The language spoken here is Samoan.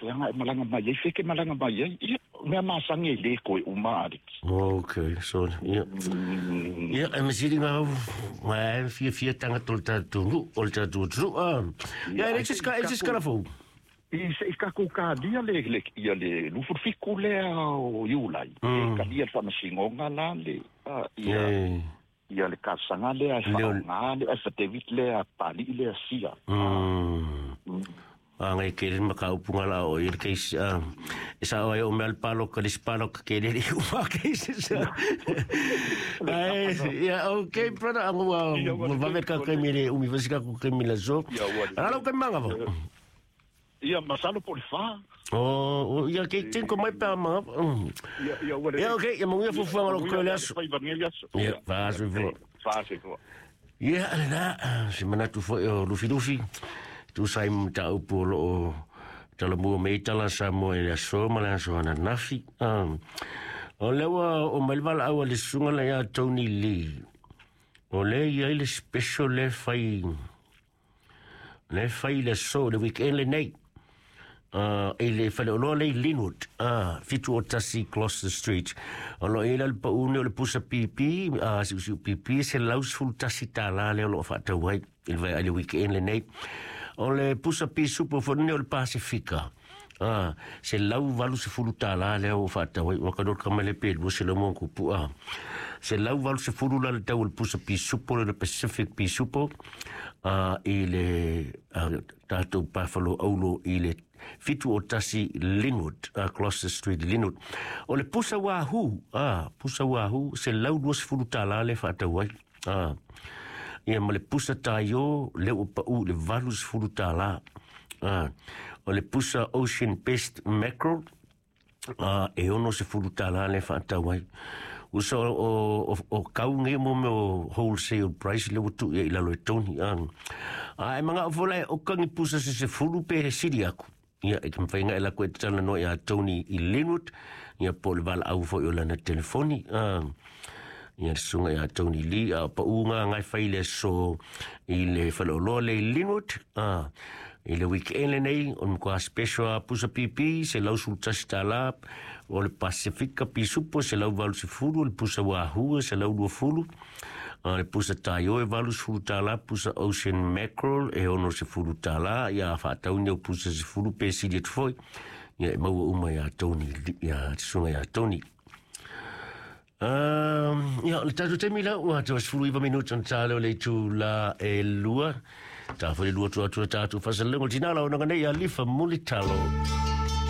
Feaga e malaga mai ai, fe ke malaga mai ai. Ia, mea masani e le koe uma Alex. Okay, so ia. Ia, e masiri ngā au, ngā e fia fia tangata o le tātou nu, o le tātou atunuu. Ah. Ia, e leai se isi kalafou. I se i kakou kalia le le ia le 27 lea o Iulai. E kalia le faamasinoga la le ia ia le talosaga lea e faaaoga le affidavit lea a Papalii lea sia. A ngai ke le mataupu nga la o i le case e sa o ai o mea le paloka le isi paloka ke le uma case sa. Ai, ia, okay, brother, ango ua ua vave ka kaimi le umi fasi ka ku kaimi le so. Ala lau kaimi manga fo. Ia, masalo po o le 4. Oh, ia ke tin ko mai pa manga. Ia, ia, ua Ia, okay, ia manuia fuafuaga o lou koe le aso. Ia, faasoifua. Faasoifua. Ia, lena, se manatu foi o Lufilufi, tusa ai ma mataupu o loo talamua mai ai tala Samoa i le aso ma le aso ananafi. O lea ua oo mai le valaau a le susuga lea ia Tony Lee. O lea e i ai le special lea e fai lea e fai i le aso, le weekend lenei. I le faleoloa lea i Linwood, 71 Gloucester Street. O lo o i ai la le pau nei o le pusa pipi, siusiu pipi, $111 lea o lo o faatau ai i le i le weekend lenei. O le pusa pisupo foi lenei o le Pasifika, $180 lea ua faatau ai. Ua ka ka mai le pe 200 mo kupu a. $180 la le tau o le pusa pisupo le Pacific pisupo, i le tatou Buffalo Aulo i le 71 Linwood, Gloucester Street, Linwood. O le pusa wahoo, pusa wahoo, $120 le faatau ai. Ia ma le pusa taio, le ua pau i le $80. O le pusa Ocean Best Mackerel, e $60 le faatau ai. Uso o kau nei mo mea o wholesale price le ua tuu i ai i lalo e Tony. A e mangao foi la e oka ni pusa se 10 pe he sili aku. Ia, e te mawhai ngai la koe te tala noa ia Tony i Linwood, ia po le valaau foi o lana telefoni. Ia le susuga ia Tony Lee, a o pau ngā ngai whai le aso i le whaleoloa le i Linwood, i le weekend lenei, o le matua special a pusa pipi, $111, o le Pasifika pisupo, $180, o le pusa wahoo, $120, le pusa taio e $80, pusa Ocean Mackerel e $60, ia faatau nei o pusa 10 pe sili atu foi, ia e maua uma ia Tony, ia te susuga ia Tony. Ia, o le tatou taimi la, ua 19 minuti ona tā leo le itu la e lua. Tā foi le lua atu atu le tatou faasalaga o le tinā la o naga nei a Lifa Mulitalo.